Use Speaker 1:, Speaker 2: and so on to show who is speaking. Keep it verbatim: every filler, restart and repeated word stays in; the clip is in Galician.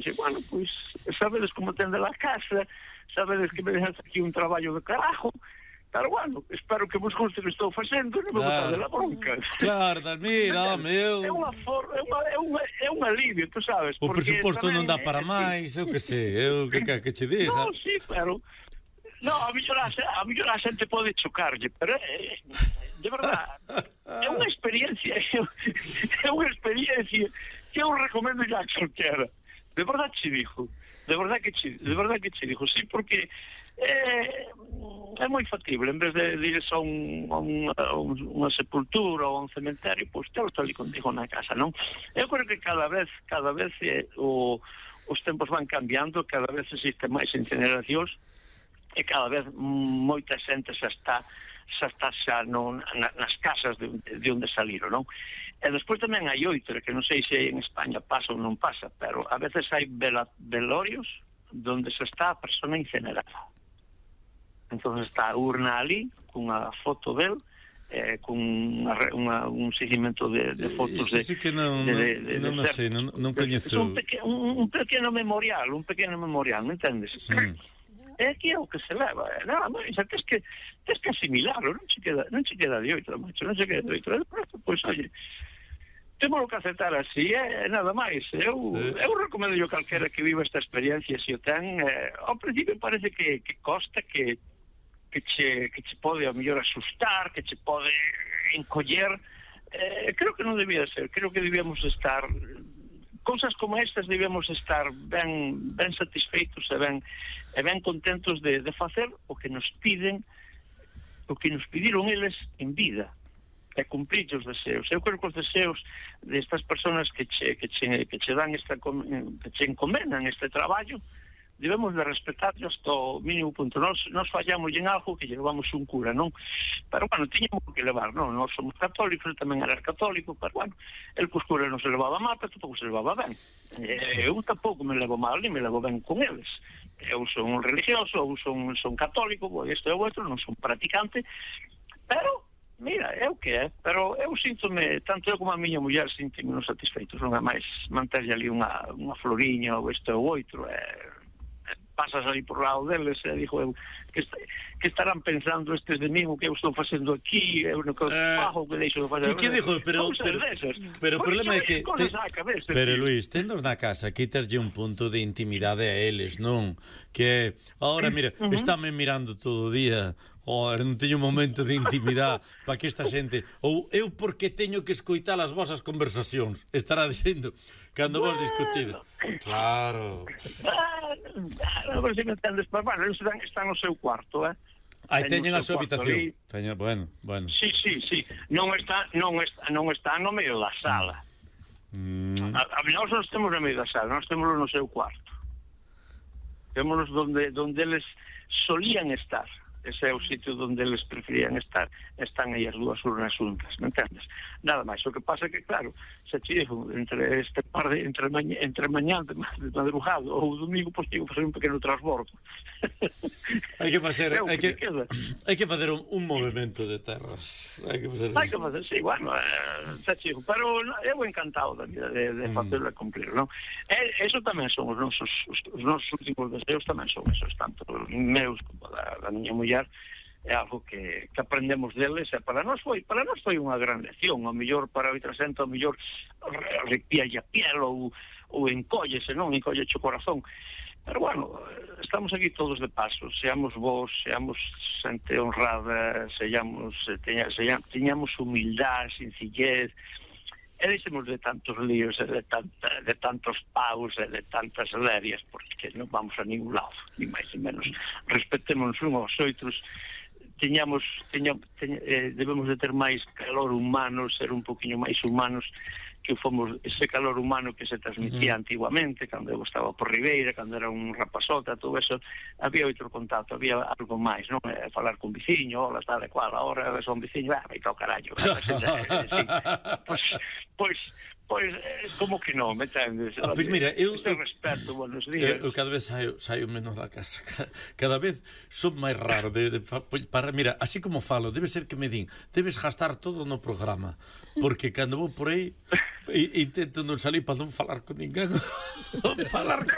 Speaker 1: dice, bueno, pois sabedes como tende a casa, sabedes que me deixas aquí un traballo de carajo, pero bueno, espero que vos guste que estou facendo, non me
Speaker 2: Claro.
Speaker 1: botade la bronca.
Speaker 2: Claro, mira, meu.
Speaker 1: É unha for, é unha é unha é un alivio, tú sabes,
Speaker 2: O
Speaker 1: porque
Speaker 2: presuposto non
Speaker 1: tamén,
Speaker 2: dá para
Speaker 1: eh,
Speaker 2: máis, eu que sei, eu que que, que che diga.
Speaker 1: No, sí, pero no, a mellor a, a mellor a xente pode chocarlle, pero é, de verdade, é unha experiencia, é unha experiencia que eu recomendo ya a calquera. De verdade che digo, de verdade que che, de verdade que che digo, sí, porque é, é moi factible, en vez de ir a, un, a, un, a un, unha sepultura ou a un cementerio, pois te lo ali contigo na casa, non? Eu creo que cada vez, cada vez eh, o, os tempos van cambiando, cada vez existen máis incineracións, e cada vez moita xente xa está xa está xa non, na, nas casas de, de onde saliron, non? E despois tamén hai outra, que non sei se en España pasa ou non pasa, pero a veces hai vela, velorios donde se está a persona incinerada. Entón está a urna ali, cunha foto del, eh, con unha, unha, un seguimento de, de fotos de...
Speaker 2: Sí, sí que non,
Speaker 1: de, de, de,
Speaker 2: non, non,
Speaker 1: de
Speaker 2: sei, non, non coñezo...
Speaker 1: Un, peque, un, un pequeno memorial, un pequeno memorial, me entendes?
Speaker 2: Sí.
Speaker 1: É que é o que se leva, é nada máis, tens que, tens que asimilarlo, non che queda, non che queda de outra, macho, non che queda de outra, pois, oye, temos que aceptar así, é nada máis. Eu, sí. eu recomendo yo calquera que viva esta experiencia, se o ten, eh, ao principio parece que, que costa, que que che, que che pode a mellor asustar, que che pode encoller, eh, creo que non debía ser, creo que debíamos estar, cousas como estas debíamos estar ben, ben satisfeitos e ben, e ben contentos de, de facer o que nos piden, o que nos pediron eles en vida, e cumprir os deseos. Eu creo que os deseos destas persoas que che, que che, que che dan esta, que che encomendan este traballo, debemos de respetarlos hasta o mínimo punto. Nos, nos fallamos en algo que llevamos un cura, non? Pero, bueno, tiñamos que levar, non? Nos somos católicos, tamén era católico, pero, bueno, el cos cura non se levaba mal, pero tampouco se levaba ben. Eh, eu tampouco me levo mal, ni me levo ben con eles. Eu son un religioso, eu son, son católico, isto é o outro, non son practicante, pero... Mira, é o que é, pero eu síntome, tanto eu como a miña muller síntome non satisfeitos, non é máis manterlle ali unha, unha floriña ou isto ou outro, é, é, pasas ali por lado deles e dixo eu, que, que estarán pensando estes de mí o que eu estou facendo aquí, eu non que
Speaker 2: eh,
Speaker 1: fago, que deixo de facer.
Speaker 2: Que, que dixo, pero, pero, pero o problema é que te, cabeza, pero tío. Luís, tendos na casa, quitaslle un punto de intimidade a eles, non? Que ahora, mira, uh -huh. estáme mirando todo o día. Oh, non teño un momento de intimidade para que esta xente, ou eu porque teño que escoitar as vosas conversacións, estará dicindo cando vos discutides. Claro.
Speaker 1: Non sei se me entendes, pero bueno, eles están no seu cuarto, eh?
Speaker 2: Aí teñen a súa habitación. Teñen, bueno, bueno.
Speaker 1: Sí, sí, sí. Non está, non está, non está no medio da sala. Mm. A, a nós non temos no medio da sala, nós temos no seu cuarto. Temos donde donde eles solían estar. Ese é o sitio onde eles preferían estar, están aí as dúas urnas juntas, me entendes? Nada máis, o que pasa é que, claro, se chigo entre este par de, entre mañá, entre mañá de, de madrugado ou domingo, pois tigo que facer un pequeno transbordo.
Speaker 2: Hai que facer, hai que, hai que facer un, un movimento de terras, hai que facer
Speaker 1: hai que facer, sí, bueno, eh, se chigo, pero eu encantado da vida de, de facerlo e cumplir, non? E eso tamén son os nosos, os, os nosos últimos deseos, tamén son esos, tanto os meus como da, da miña muller. É algo que, que aprendemos deles e para nós foi para nós foi unha gran lección, ao mellor para outra xente, ao mellor arrepíalle a piel ou, ou encóllese, non? Encóllese o corazón, pero bueno, estamos aquí todos de paso, seamos vos, seamos xente honrada, seamos, teña, seamos, teñamos humildade, sencillez, e deixemos de tantos líos e de, tanta, de tantos paus e de tantas lerias, porque non vamos a ningún lado, ni máis ni menos. Respetémonos uns aos outros, teñamos, teñamos, teñamos eh, debemos de ter máis calor humano, ser un poquinho máis humanos, que fomos ese calor humano que se transmitía uh-huh. antiguamente, cando eu estaba por Ribeira, cando era un rapazota, todo eso, había outro contacto, había algo máis, non? Eh, falar con veciño, hola, tal e cual, ahora son veciño, ah, me toca carallo, pois, pois, Pois, como que non, me entendes?
Speaker 2: Ah, pois mira, eu...
Speaker 1: Este respeto, buenos días.
Speaker 2: Eu, eu cada vez saio, saio menos da casa. Cada, cada vez son máis raro. De, de, para, mira, así como falo, debe ser que me din, debes gastar todo no programa. Porque cando vou por aí, intento non salir para non falar con ninguén. falar con